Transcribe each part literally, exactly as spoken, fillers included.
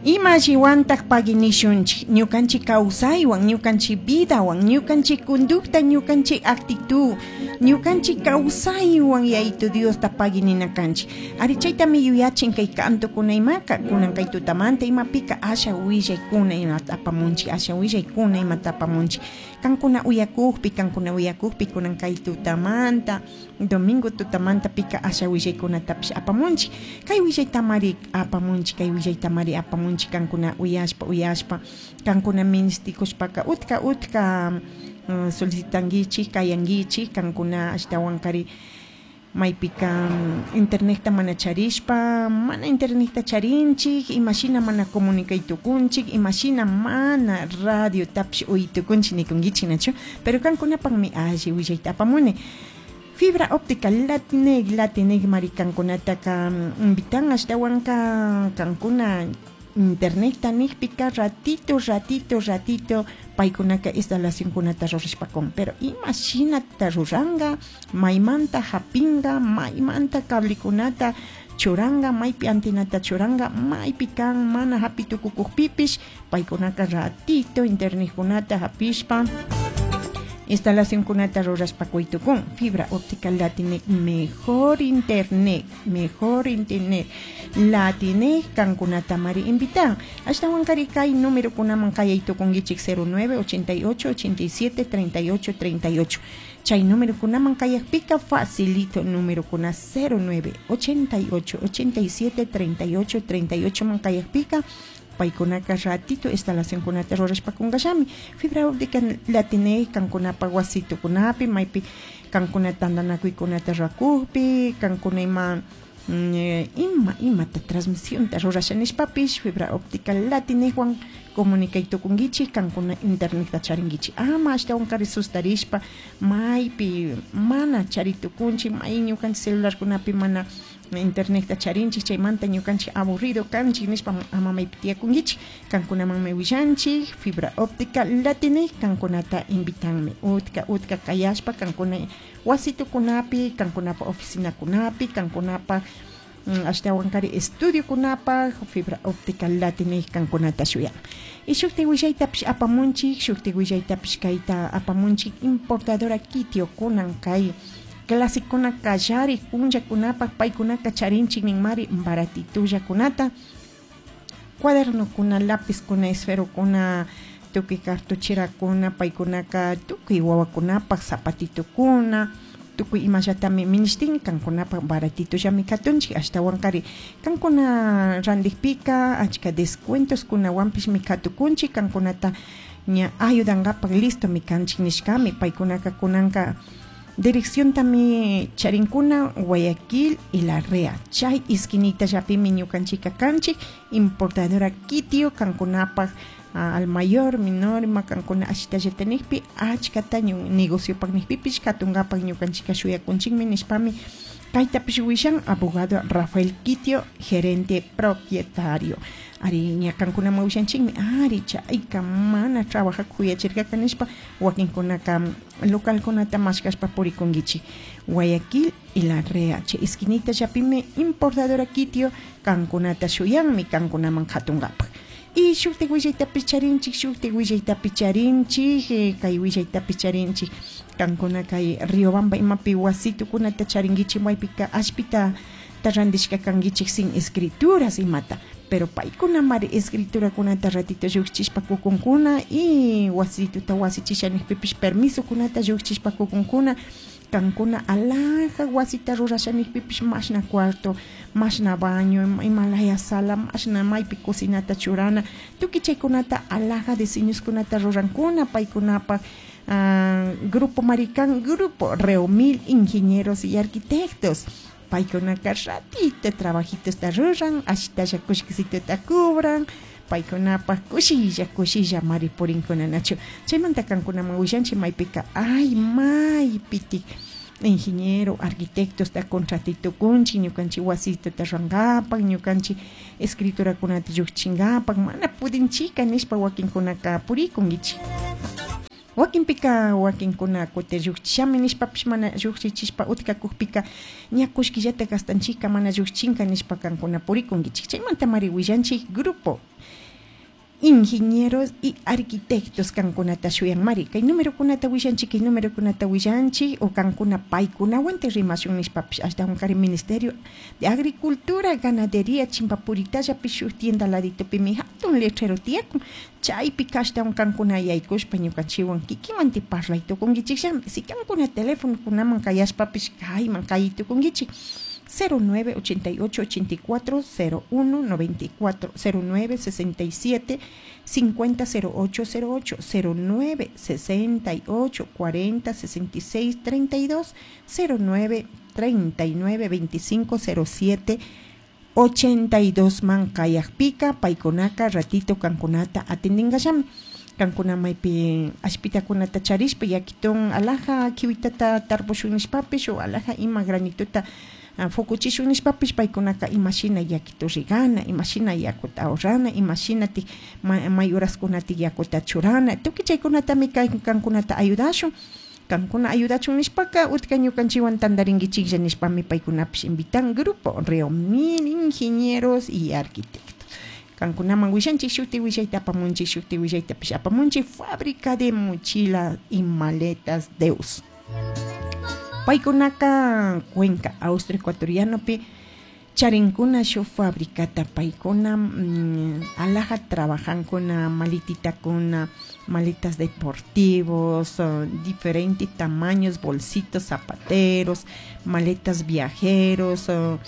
Ima alliwantaj pagui nishunchik ñukanchik kawsaywan, ñukanchik vidawan, ñukanchik conducta, ñukanchik actitud, ñukanchik kawsaywan Yayitu Diosta pagui nina kanchik. Ari chaytami yuyachin kay kantokuna imaka, kunan kay tutamanta imapika asha willaykuna imata apamunchik, asha willaykuna imata apamunchik. Kankuna uyakukpi, kankuna uyakukpi kunan kay tutamanta, domingo tutamanta pika asha willaykunatapish apamunchik. Kay willaytamari apamunchik, kay willaytamari apamunchik kankuna uyashpa, uyashpa, kankuna ministikushpaka utka utka uh, solicitanguichik, kayanguichik, kankuna ashtawankari maypika internetta mana charishpa, mana internetta charinchik, imashina mana comunicay tukunchik, imashina mana radio tapish uy tukunchik nikunkichik nachu, pero kankunapakmi alli willayta apamuni. Fibra óptica Latineg, Latineg mari kankunataka invitan ashtawanka kankuna internetta nikpika ratito, ratito, ratito paykunaka instalacionkunata rurashpakun, pero imashinata ruranga, maymanta hapinga, maymanta cablekunata churanga, maypi antenata churanga, maypi kan mana hapi tukukukpipish paykunaka ratito internetkunata hapishpa instalacionkunata rurashpa kuytukun. Fibra óptica Latineg, mejor internet, mejor internet Latineg kankunata mari invitan. Ashtawankari kay número kunaman kayay tukunkichik cero nueve ochenta y ocho ochenta y siete treinta y ocho treinta y ocho. Chay número kunaman kayakpika facilito número kuna cero nueve ochenta y ocho ochenta y siete treinta y ocho treinta y ocho man kayakpika paykunaka ratito instalacionkunata rurashpa kunkashami. Fibra óptica Latineg kankunapa wasitukunapi, maypi kankuna tantanakuykunata rurakukpi, kankuna ima, mm, ima, imata transmisionta rurasha nishpapish fibra óptica Latinegwan comunicay tukunkichik, kankuna internetta charinkichik. Ama ashtawankari sustarishpa maypi mana chari tukunchik, may ñukanchik celularkunapi mana internetta charinchik, chaymanta ñukanchik aburrido kanchik nishpa ama maypi tiyakunkichik. Kankunamanmi willanchik fibra óptica Latineg kankunata invitanmi utka utka kayashpa kankuna wasitukunapi, kankunapa oficinakunapi, kankunapa ashtawankari estudiokunapaj fibra óptica Latineg kankunata shuyan. Y shukti willaytapish apamunchik, shukti willaytapish kayta apamunchik importadora Kitio kunan kay clasikuna kallari punllakunapaj paykunaka charinchik ninmari baratitullakunata, cuadernokuna, lapizkuna, esferokuna, tukuy cartucherakuna, paykunaka tukuy wawakunapaj zapatitukuna, tukuy imallatami minishtin kankunapaj baratitullami katunchik. Ashtawankari kankuna rantikpika achka descuentos kunawanpishmi katukunchik, kankunata ña ayudankapak listo mi kanchik nishkami. Paykunaka kunanka dirección tami charinkuna Guayaquil y La Rea. Chay esquinita llapimi ñukanchika kanchik, importadora Kitio kankunapaj al mayor, menor, makankuna ashitalla tenekpi, achkata negocio pak nikpipish katunkapak ñukanchika shuyakunchikmi nishpami kaytapish wishan abogado Rafael Kitio, gerente propietario. Ari ñakankunaman wishanchikmi, ari chayka mana trabajak huyachirkaka nishpa wakinkunaka localkunata mashkashpa purikunkichik. Guayaquil y La Rea, chay esquinita llapimi importadora Kitio kankunata shuyanmi kankunaman katunkapak. Y shukti willaytapish charinchik, shukti willaytapish charinchik, eh, kay willaytapish charinchik kankuna kay Riobamba imapi wasitukunata charinkichik maypika ashpita randishka kankichik sin escrituras imata, pero paykuna mari escriturakunata ratito llukchishpa kukunkuna y wasituta wasichisha nikpipish permisokunata llukchishpa kukunkuna. Kankuna alhaja wasita rurasha nikpipish mashna cuarto, mashna baño, imalaya sala, mashna maypi cocinata churana, tukuy chaykunata alhaja diseñoskunata rurankuna paykunapaj. Ah, Grupo Maricán, Grupo Reomil, ingenieros y arquitectos. Paykunaka ratito trabajitos ta ruran, ashitalla kushkisituta cubran, paykunapaj kushilla, kushilla mari purinkuna nachu. Chaymanta kankunaman willanchik maypika, ay, maypitik ingeniero, arquitectos ta contratitukunchik, ñukanchik wasituta rurankapak, ñukanchik escriturakunata llukchinkapak, mana pudinchika nishpa wakinkunaka purikunkichik. Wakinpika wakinkuna kutin llukchishami nishpapish mana llukchichishpa utkakukpika ña kullkillata gastanchika mana llukchinka nishpa kankuna purikunkichik. Chaymantamari willanchik grupo ingenieros y arquitectos kankunata shuyanmari. Kay numerokunata willanchik, kay numerokunata willanchik o kankuna paykunawan rimashun nishpapish ashtawankari Ministerio de Agricultura, Ganadería Chimpapuritallapis shuk tienda laditopimi hatun letrero tiyakun chaypika ashtawan kankuna yaykushpa ñukanchikwan kikinwanti parlay tukunkichikllami. Si kankuna telefonokunaman kayashpapish kayman kay tukunkichik cero nueve ochenta y ocho ochenta y cuatro cero uno noventa y cuatro cero nueve sesenta y siete cincuenta cero ocho cero ocho cero nueve sesenta y ocho cuarenta sesenta y seis treinta y dos cero nueve treinta y nueve veinticinco cero siete ochenta y dos man kayakpika paykunaka ratito kankunata atendingallami. Kankuna maypi ashpitakunata charishpa yakitun alaja kiwitata tarpushun nishpapish o alaja ima granituta fukuchishun nishpapish paykunaka imashina yakitu rigana, imashina yakuta ahorrana, imashina ti may horaskunati yakuta churana, tukuy chaykunatami kankunata ayudashun. Kankuna ayudachun nishpaka utka ñukanchikwan tantarinkichiklla nishpami paykunapish invitan grupo Reomil Ingenieros y Arquitectos. Kankunaman willanchik shuti willayta apamunchik shuti willaytapish apamunchik fábrica de mochilas y maletas Deus. Paykunaka Cuenca, Austro ecuatorianopi charinkuna shu fabricata paykuna mm, alaja trabajankuna malititakuna, maletas deportivos, uh, diferentes tamaños, bolsitos, zapateros, maletas viajeros, uh,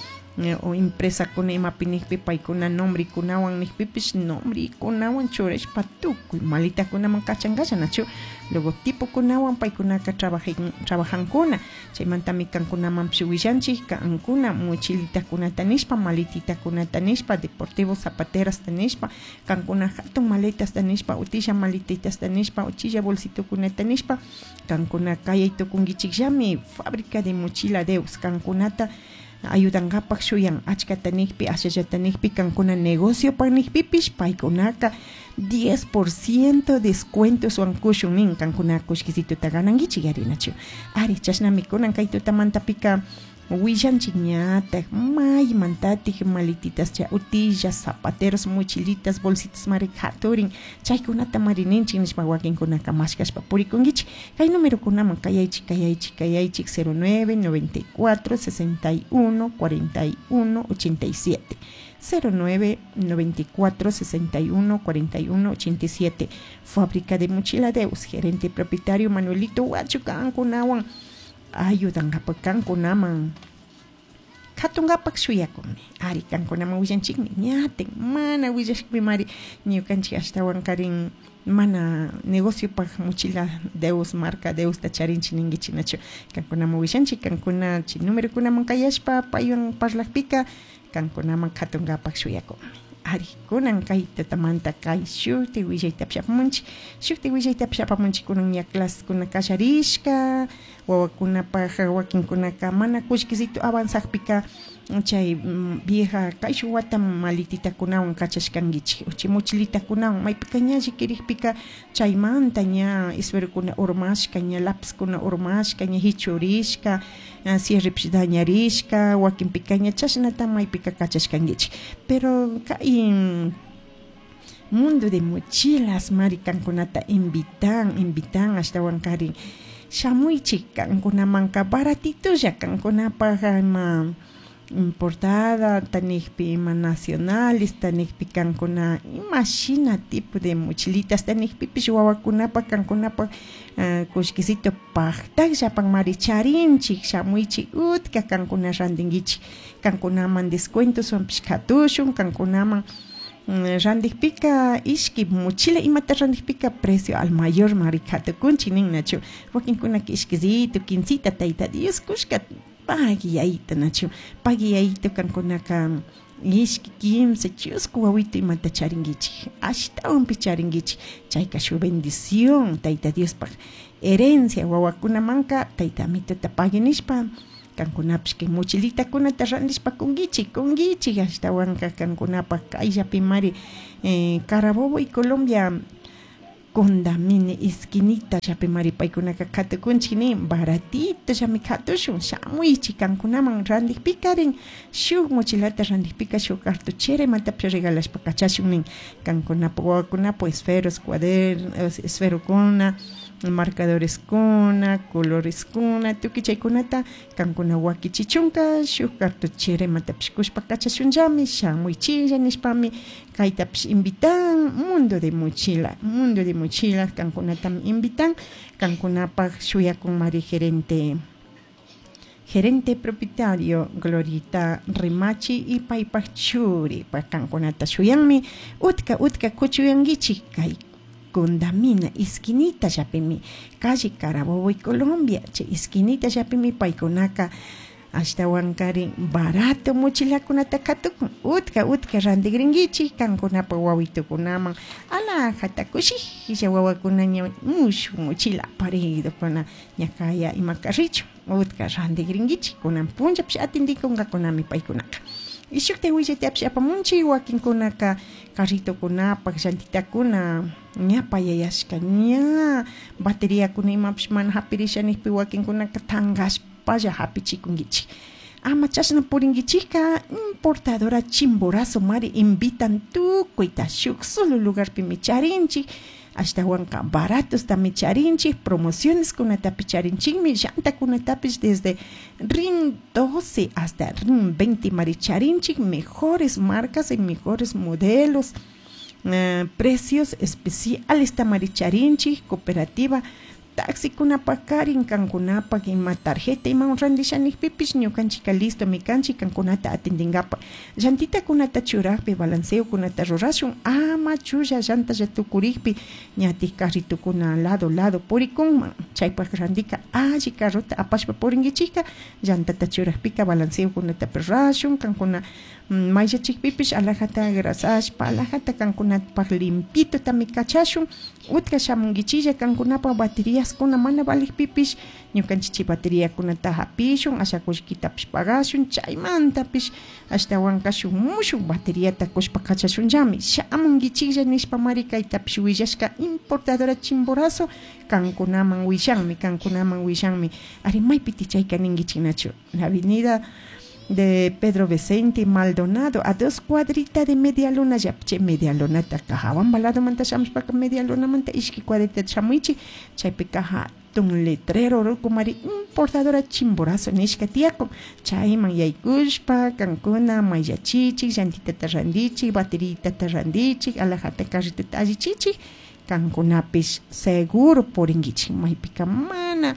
o impresa kuna imapi nijpi paykuna nombre kunawan nijpipish nombre kunawan churashpa tukuy malitakunaman kachankalla nachu logotipo kunawan paykunaka trabajan trabajankuna. Chaymantami kankunamanpish willanchik kankuna mochilitakunata nishpa maletitakunata nishpa deportivos zapaterasta nishpa kankuna hatun maletasta nishpa utilla maletitasta nishpa uchilla bolsitokunata nishpa kankuna kayay tukunkichikllami fábrica de mochila Deus kankunata ayudankapak shuyan achkata nijpi ashallata nijpi kankuna negocio pak nijpipish paykunaka diez por ciento descuentos kushun nin kankuna kullkisituta ganankichik yarinachu. Ari chashnami kunan kay tutamantapika willanchik ñatak maymantatik maletitas cha utillas zapateros mochilitas bolsitas mari haturin chaykunata mari ninchik nishpa wakinkunaka mashkashpa purikunkichik. Kay numerokunaman kayaychik kayaychik kayaychik cero nueve noventa y cuatro sesenta y uno cuarenta y uno ochenta y siete cero nueve noventa y cuatro sesenta y uno cuarenta y uno ochenta y siete. Fábrica de Mochila Deus, gerente y propietario Manuelito Huacho kankunawan ayudankapak kankunaman katunkapak shuyakunmi. Ari kankunaman willanchikmi ñatin mana willashkpi mari ñukanchik ashtawan karin mana negociopak mochila Deus marca Deusta charinchik ninkichik nachu kankunaman willanchik kankuna chay numerokunaman kayashpa paywan parlakpika kankunaman katunkapak shuyakunmi. Ari kunan kay tutamanta kay shuti willaytapish apamunchik shuti willaytapish apamunchik kunan ña clasekuna kallarishka wawakunapaj wakinkunaka mana kullkisitu avanzakpika chay vieja kayshuk wata maletitakunawan kachashkankichik chay mochilitakunawan maypika ña llikirikpika chaymanta ña esferokuna urmashka ña lapizkuna urmashka ña hichurishka cierrepish dañarishka wakinpika ña chashnata maypika kachashkankichik. Pero kay mundo de mochilas mari kankunata invitan invitan ashtawan karin shamuychik kankunamanka baratitulla kankunapaj ima importada tanijpi ima nacionales tanijpi kankuna imashina tipo de mochilitas tanijpipish wawakunapaj kankunapaj uh, kullkisito paktakllapan mari charinchik shamuychik utka kankuna rantinkichik kankunaman descuentoswanpish katushun kankunaman randikpika ishki mochila imata randikpika precio al mayor mari katukunchik nin nachu wakinkunaka ishkisito quincita tayta Dios kushka pagiyayta nachu pagiyayta kankunaka ishki kimsa chusku wawito imata charinkichik ashtawanpi charinkichik chayka shuk bendición tayta Diospaj herencia wawakunamanka tayta amituta pagui nishpa kankunapish kay mochilitakunata randishpa kunkichik kunkichik ashtawanka kankunapaj kayllapi mari eh, Carabobo y Colombia Condamine esquinita llapimari paykunaka katukunchik nin baratito llami katushun shamuychik kankunaman rantikpikarin shuk mochilata rantikpika shuk cartuchera imatapish regalashpa kachashun nin kankunapak wawakunapak esferos, cuadernos, esferokuna, marcadoreskuna, coloreskuna, tukuy chaykunata kankuna wakichichunka shuk cartuchera imatapish kushpa kachashunllami shamuychilla nishpami kaytapish invitan Mundo de Mochila, Mundo de Mochila kankunatami invitan kankunapak shuyakunmari gerente gerente propietario Glorita Rimachi y paypak churi kankunata shuyanmi utka utka kuchuyankichik kay Condamina esquinita llapimi calle Carabobo y Colombia chay esquinita llapimi paykunaka ashtawankarin barato mochilakunata katukun utka utka rantikrinkichik kankunapak wawitukunaman alajata kushilla wawakuna ña mushuk mochila aparidokuna ña kaya ima carrichun utka rantikrinkichik kunan punllapish atindikunkakunami paykunaka. Y shukta willaytapish apamunchik wakinkunaka carritokunapak llantitakuna ña payayashka ña bateriakuna imapish mana hapirisha nijpi wakinkunaka tankashpalla hapichikunkichik ama chashna purinkichikka importadora Chimborazo mari invitan tukuyta shuk solo lugarpimi charinchik ashtawanka baratostami charinchik promociones kunatapish charinchikmi llantakunatapish desde RIN doce hasta RIN veinte mari charinchik mejores marcas y mejores modelos, eh, precios especiales tamari charinchik cooperativa taxikunapak karin kankunapak ima tarjeta ima randisha nijpipish ñukanchika listo mi kanchik kankunata atendinkapak llantitakunata churakpi balanceokunata rurashun ama chulla llantalla tukurikpi ñatik carritukuna lado lado purikunman chaypak randika alli carrota apashpa purinkichikka llantata churakpika balanceokunata rurashun kankuna mayllachikpipish alajata grasashpa alajata kankunapak limpitotami kachashun utka shamunkichilla kankunapak baterías kuna mana valikpipish ñukanchik bateriakunata hapishun asha kullkitapish pagashun chaymantapish ashtawanka shuk mushuk bateriata kushpa kachashunllami shamunkichiklla nishpa mari kaytapish willashka importadora Chimborazo kankunaman willanmi kankunaman willanmi ari maypiti chayka ninkichiknachu la avenida de Pedro Vicente Maldonado a dos cuadritas de media luna llapche media lunata hawan ladomanta shamushpaka media lunamanta ishki cuadrita shamuichik chaypika hatun letrero rukumari importadora Chimborazo nishka tiyakun chayman yaykushpa kankuna mayllachichik llantitata randichik bateritata randichik alajata carritota allichichik kankunapish seguro purinkichik maypika mana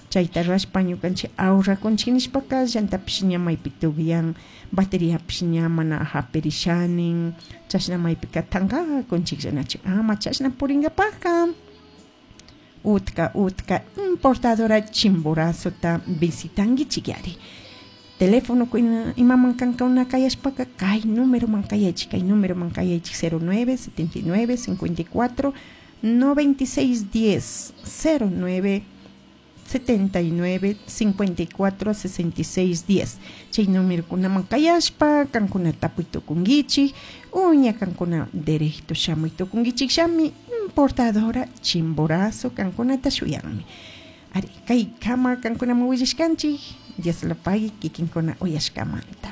chayta rashpa ñukanchik ahorrakunchik nishpaka llantapish ña maypi tukyan bateriapish ña mana hapirishanin chashna maypika tankakunchikllanachu ama chashna purinkapakka utka utka importadora Chimborazota visitankichik yari teléfono imaman kankuna kayashpaka kay numeroman kayaychik kay numeroman kayaychik cero nueve setenta y nueve cincuenta y cuatro noventa y seis diez cero nueve setenta y nueve cincuenta y cuatro sesenta y seis diez chay numerokunaman kayashpa kankuna tapuy tukunkichik uña kankuna derecho shamuy tukunkichik shami importadora Chimborazo kankunata shuyanmi ari kay kama kankunaman willashkanchik Dios lo pague kikinkuna uyashkamanta.